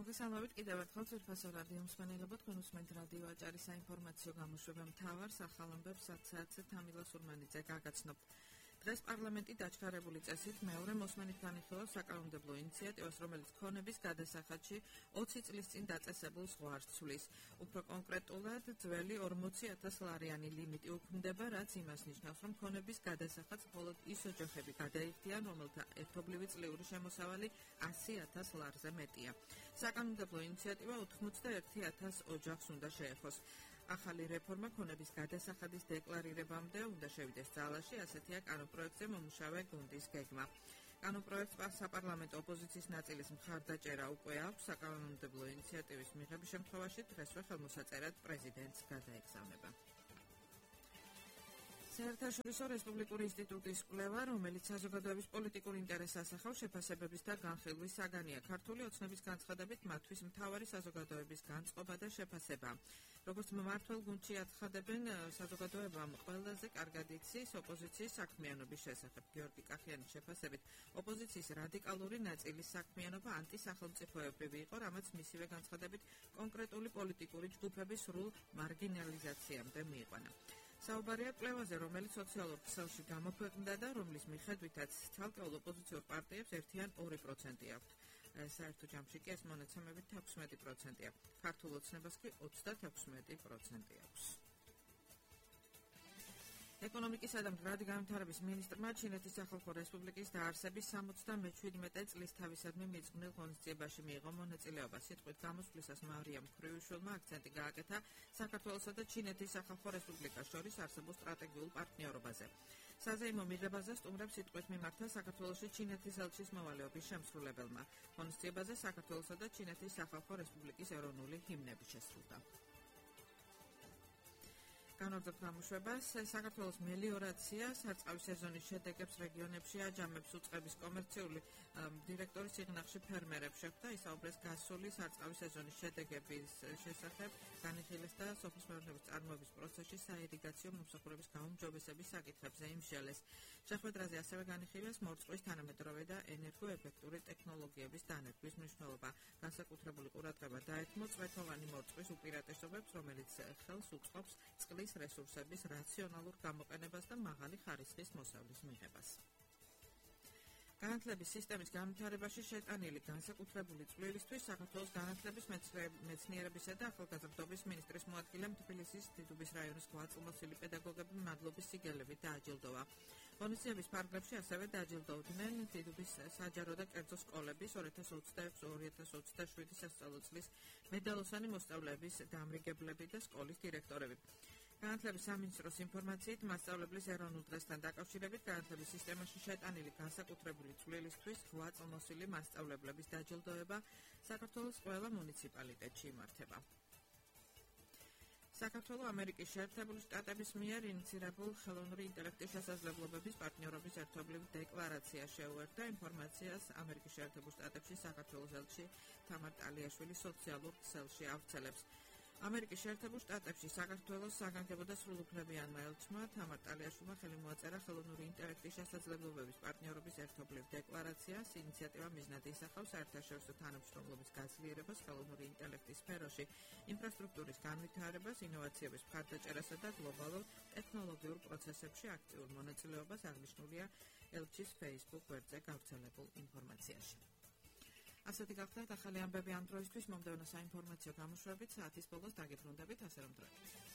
მოგესალმებით კიდევ ერთხელ ძვირფასო რადიო მსმენელებო, თქვენ უსმენთ რადიო აჭარის საინფორმაციო გამოშვება მთავარ სახალ ამბებს 10:00-ზე თამილა სურმანიძე გაგაცნობთ. დღეს პარლამენტი დაჩქარებული წესით მეორე მოსმენით განიხილავს საკანონმდებლო ინიციატივას, რომელიც ქონების გადასახადში 20 წლის წინ დაწესებულ ზღვარს ცვლის. უფრო კონკრეტულად, ძველი 40,000 ლარიანი ლიმიტი უქმდება, რაც იმას ნიშნავს, რომ ქონების გადასახადს მხოლოდ ის ოჯახები გადაიხდიან, რომელთა ერთობლივი წლიური შემოსავალი 100,000 ლარზე მეტია. საკანონმდებლო ინიციატივა 81,000 ოჯახს უნდა შეეხოს. ახალი რეფორმა ქონების გადასახადის დეკლარირებამდე უნდა შევიდეს ძალაში, ასეთია კანონპროექტზე მომუშავე გუნდის გეგმა. კანონპროექტს საპარლამენტო ოპოზიციის ნაწილის მხარდაჭერა უკვე აქვს, საკანონმდებლო ინიციატივის მიღების შემთხვევაში დღესვე ხელმოსაწერად პრეზიდენტს გადაეგზავნება. საერთაშორისო რესპუბლიკური ინსტიტუტის კვლევა, რომელიც საზოგადოების პოლიტიკურ ინტერესს ასახავს, შეფასებების და განხილვის საგანია. ქართული ოცნების განცხადებით, მათთვის მთავარი საზოგადოების განწყობა და შეფასება. როგორც მმართველ გუნდში აცხადებენ, საზოგადოებამ ყველაზე კარგად იცის ოპოზიციის საქმიანობის შესახებ. გიორგი კახიანის შეფასებით, ოპოზიციის რადიკალური ნაწილის საქმიანობა ანტისახელმწიფოებრივი იყო, რამაც მისივე განცხადებით კონკრეტული პოლიტიკური ჯგუფების სრულ მარგინალიზაციამდე მიიყვანა. საუბარია კვლევაზე, რომელიც სოციალურ ქსელში გამოქვეყნდა და რომლის მიხედვითაც ცალკეულ ოპოზიციურ პარტიებს ერთიან 2% აქვთ. საერთო ჯამში კი ეს მონაცემებით 16%-ია. ქართულ ოცნებას კი 36% აქვს. ეკონომიკისა და მდგრადი განვითარების მინისტრმა ჩინეთის სახალხო რესპუბლიკის დაარსების 77 წლის თავისადმი მიძღვნილ ღონისძიებაში მიიღო მონაწილეობა. სიტყვით გამოსვლისას მარიამ ქრივიშვილმა აქცენტი გააკეთა საქართველოსა და ჩინეთის სახალხო რესპუბლიკას შორის არსებულ სტრატეგიულ პარტნიორობაზე. საზეიმო მიღებაზე სტუმრებს სიტყვით მიმართა საქართველოში ჩინეთის ელჩის მოვალეობის შემსრულებელმა. ღონისძიებაზე საქართველოსა და ჩინეთის სახალხო რესპუბლიკის ეროვნული ჰიმნები შესრულდა. განვაგრძობთ გამოშვებას. საქართველოს მელიორაცია სარწყავი სეზონის შედეგებს რეგიონებში აჯამებს უწყების კომერციული დირექტორის სიღნაღში ფერმერებს შეხვდა. ისაუბრეს გასული სარწყავი სეზონის შედეგების შესახებ, განიხილეს და სოფლის მეურნეობის წარმოების პროცესში საირიგაციო მომსახურების გაუმჯობესების საკითხებზე იმსჯელეს. შეხვედრაზე ასევე განიხილეს მორწყვის თანამედროვე და ენერგოეფექტური ტექნოლოგიების დანერგვის მნიშვნელობა. განსაკუთრებული ყურადღება დაეთმო წვეთოვანი მორწყვის უპირატესობებს, რომელიც ხელს უწყობს წყლის რესურსების რაციონალურ გამოყენებას და მაღალი ხარისხის მოსავლის მიღებას. განათლების სისტემის განვითარებაში შეტანილი განსაკუთრებული წვლილისთვის საქართველოს განათლების მეცნიერებისა და ახალგაზრდობის მინისტრის მოადგილემ თბილისის დიდუბის რაიონის გვაწმოსილი პედაგოგები მადლობის სიგელებით დააჯილდოვა. ღონისძიების ფარგლებში ასევე დააჯილდოვდნენ დიდუბის საჯარო და კერძო სკოლების 2026-2027 სასწავლო წლის მედალოსანი მოსწავლეების დამრიგებლები და სკოლის დირექტორები. განათლების სამინისტროს ინფორმაციით, მასწავლებლის ეროვნულ დღესთან დაკავშირებით განათლების სისტემაში შეტანილი განსაკუთრებული წვლილისთვის გვაწმოსილი მასწავლებლების დაჯილდოება საქართველოს ყველა მუნიციპალიტეტში იმართება. საქართველოს ამერიკის შეერთებული შტატების მიერ ინიცირებულ ხელოვნური ინტელექტის შესაძლებლობების პარტნიორობის ერთობლივ დეკლარაცია შეუერთდა ინფორმაციას ამერიკის შეერთებულ შტატებში საქართველოს ელჩი თამარ ტალიაშვილი სოციალურ ქსელში ავრცელებს. ამერიკის შეერთებულ შტატებში საქართველოს საგანგებო და სრულუფლებიანმა ელჩმა თამარ ტალიაშვილმა ხელი მოაწერა ხელოვნური ინტელექტის შესაძლებლობების პარტნიორობის ერთობლივ დეკლარაციას. ინიციატივა მიზნად ისახავს საერთაშორისო თანამშრომლობის გაძლიერებას ხელოვნური ინტელექტის სფეროში, ინფრასტრუქტურის განვითარებას, ინოვაციების მხარდაჭერასა და გლობალურ ტექნოლოგიურ პროცესებში აქტიურ მონაწილეობას, აღნიშნულია ელჩის Facebook გვერდზე გავრცელებულ ინფორმაციაში. ასეთი გახლდათ ახალი ამბები ამ დროისთვის. მომდევნო საინფორმაციო გამოშვებით საათის ბოლოს დაგიბრუნდებით, ასე რომ დროებით.